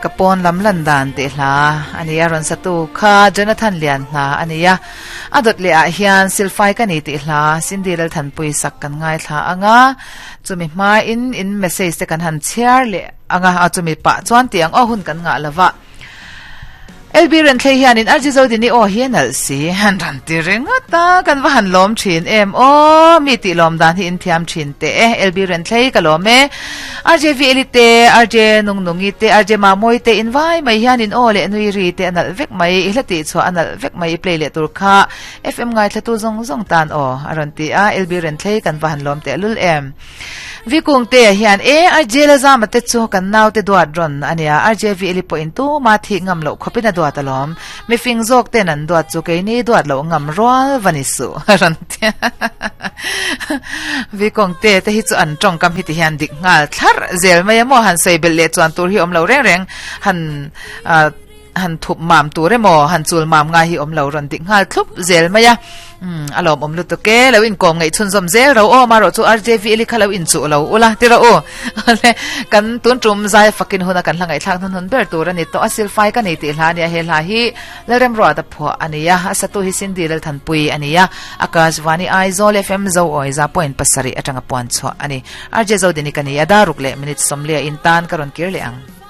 Ka pawn lam lan dan tih hla a ni a, rawn satu kha Jonathan Lian hna a ni a. A dawt leh ah hian Silfai ka ni tih hla Cindy Lalthanpui sak kan ngaithla ang a, chumi hmain in message te kan han chhiar leh ang a, chumi pah chuan tih ang aw hun kan ngah lova. LB Renthlei hianin RG Zodini aw hi a nalh si han rawn ti ringawt a, kan va han lawm thin em aw, mi tih lawm dan hi in thiam thin teh e, LB Renthlei ka lawm e, RJ Veli te, RJ Nungnungi te, RJ Mamawii te in vai mai hianin aw leh nui ri te a nalh vek mai, i hla tih chhuah a nalh vek mai i play leh tur kha FM ngaithlatu zawng zawng tan aw a rawn ti a, LB Renthlei kan va han lawm teh lul em. Vikungtea hian, E, RJ Lazama te chu kan naute duat rawn a nia, RJ Vili pawhin tuma thih ngam loh khawpin a duat alawm. Mifing zawk ten an duat chu keini duat loh ngam rual va ni suh, a rawn ti a. Vikungtea te hi chu an tawngkam hi ti hian dik nghal thlarh zel mai a maw, han sawi belh leh chuan tur hi awm lo reng reng, han han thup mam tur emaw han chul mam ngai hi awm lo rawn dik nghal thlup zel mai a umm a lawm awm lutuk e lo inkawm ngaih chhunzawm zel ro aw marawh chu RJV eli kha lo inchuh lo ula ti rawh u le kan tun tum zai fakin huna kan hla ngaihthlak hnun hun ber tur a ni tawh a silfai ka nei tih hla a nia he hla hi Lalremruat a phuah a ni a a satu hi Cindy Lalthanpui a ni a Akashvani Aizawl FM Zo Awiza point pasarih atanga puan chhuah a ni RJ Zodini ka ni a daruk leh minute sawmliah in tan ka rawn kir leh ang.